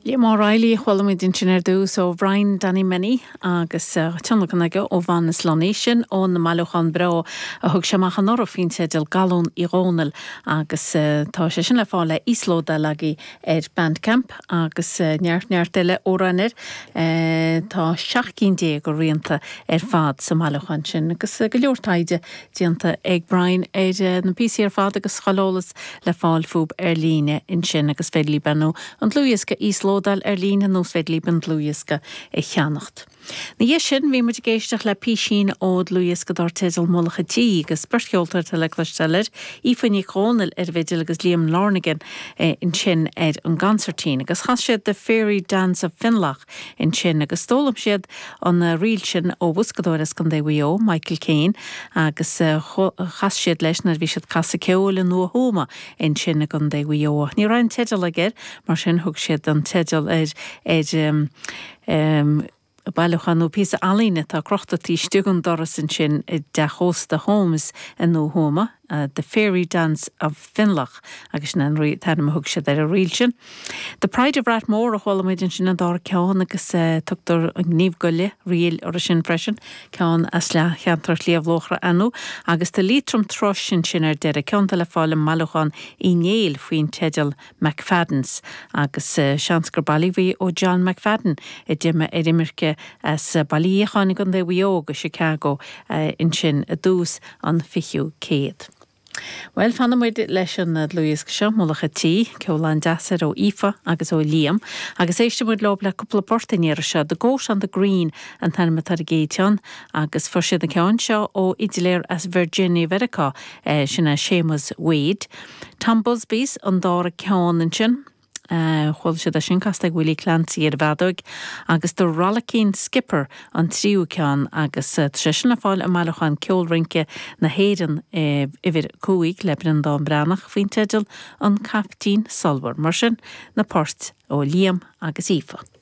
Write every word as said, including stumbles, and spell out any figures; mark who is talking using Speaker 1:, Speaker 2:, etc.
Speaker 1: Liam O'Reilly a chuala muid ansin ar dtús ó Brian Danny Menny agus tionlacan aige ó Mhanus Lunny sin ón mbailiúchán breá a thug sé amach anuraidh faoin teideal Galún Uí Dhónaill agus tá sé sin le fáil le íoslódáil agaibh ar Bandcamp agus neart neart eile amhrán air. Tá seacht gcinn déag de rianta ar fad sa mbailiúchán sin agus go leor taighde déanta ag Brian ar na píosaí ar fad agus chuile eolas le fáil fúthu ar líne ansin agus féidir libh nó an dlúthdhiosca íoslódáil ar líne nó is féidir libh an dlúthdhiosca a cheannacht. Ina dhiaidh sin bhí muid ag éisteacht le písín ó dhlúthdhiosca dar teideal Mullach an Tí agus beirt cheoltóir le cloisteáil air, Aoife Nic Dhónaill ar an bhfidil agus Liam Lonergan ansin ar an gconsairtín, agus chas siad The Fairy Dance of Finlough ansin agus d'fhoghlaim siad an ríl sin ó bhoscadóir as Contae Mhaigh Eo, Michael Kane, agus chas siad leis nuair bhí siad ag casadh ceoil i nDumha Thuama ansin i gContae Mhaigh Eo. Ní raibh an teideal aige mar sin thug siad an teideal ar ar um, um, bailiúchán nó píosa ealaíne atá crochta taobh istigh den doras ansin i dteach ósta Holmes i nDumha Thuama, uh, The Fairy Dance of Finlough agus sin an t-ainm a thug siad ar an ríl sin. The Pride of Rathmore a chuala muid ansin an dara ceann agus uh, tugtar an Gníomh Goile ríl orthu sin freisin, ceann as le cheantar Shliabh Luachra anu, agus The Leitrim Thrush sin ar deireadh ceann le fáil i mbailiúchán Uí Néill faoin teideal McFadden's agus uh, seans gur bailíodh ó John McFadden a d'imigh ar imirce as Baile Ghíocháin i gContae Mhaigh Eo go Chicago uh, ansin i dtús an fichiú céad. Well fanfaidh muid leis an dlúthdhiosca seo Mullach an Tí, ceol an-deas ó Aoife agus ó Liam, agus éistfidh muid leo le cúpla port an iarraidh seo, The Goat on the Green an t-ainm atá ar an gcéad cheann, agus fuair siad an ceann seo ó fhidléir as Virginia Mheiriceá eh, sin é Seamus Wade. Tom Busby's an dara ceann ansin. Uh, chuala siad sin casta ag Willie Clancy ar bhfeadóg, agus The Rollicking Skipper an tríú ceann agus uh, sé sin le fáil i mbailiúchán Ceol Rince na hÉireann uh, uimhir cúig le Breandán Breathnach faoin teideal an Caiptín Solmhar, mar sin na poirt ó Liam agus Aoife.